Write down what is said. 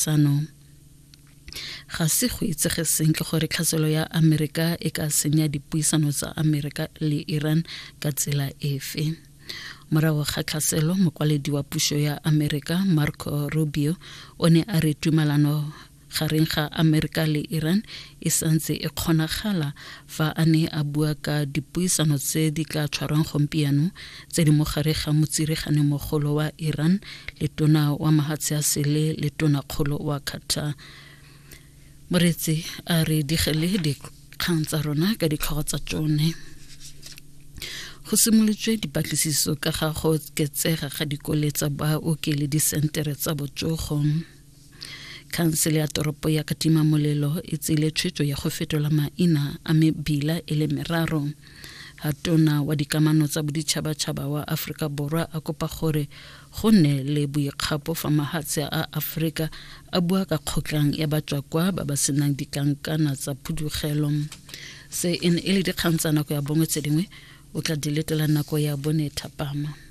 Sano. Ga se go itsege sentle gore tlhaselo ya Amerika e ka senya dipuisano tsa Amerika le Iran ka tsela efe. Morago ga tlhaselo, mokwaledi wa puso ya Amerika Marco Rubio o ne a re tumalano gareng ga Amerika le Iran e santse e kgonagala fa a ne a bua ka dipuisano tse di tla tshwarwang gompieno tse di mo gare ga motsiregane mogolo wa Iran le tona wa mahatshe a sele le tona kgolo wa Qatar. Moreetsi a re digele dikgang tsa rona ka ditlhogo tsa tsone. Go simolotswe dipatlisiso ka ga go oketsega ga dikole tsa baoki le disentere tsa botsogo. Khansele ya toropo ya Katima Molelo e tseile tshwetso ya go fetola maina a mebila e le meraro. Ha tona wa dikamano tsa boditšhabatšhaba wa Aforika Borwa a kopa gore go nne le boikgapo fa mahatshe a Aforika a bua ka kgotlang ya batswakwa ba ba senang ditlankana tsa phudugelo. Se e ne e le dikgang tsa nako ya bongwe tse dingwe o tla di letela nako ya bone thapama.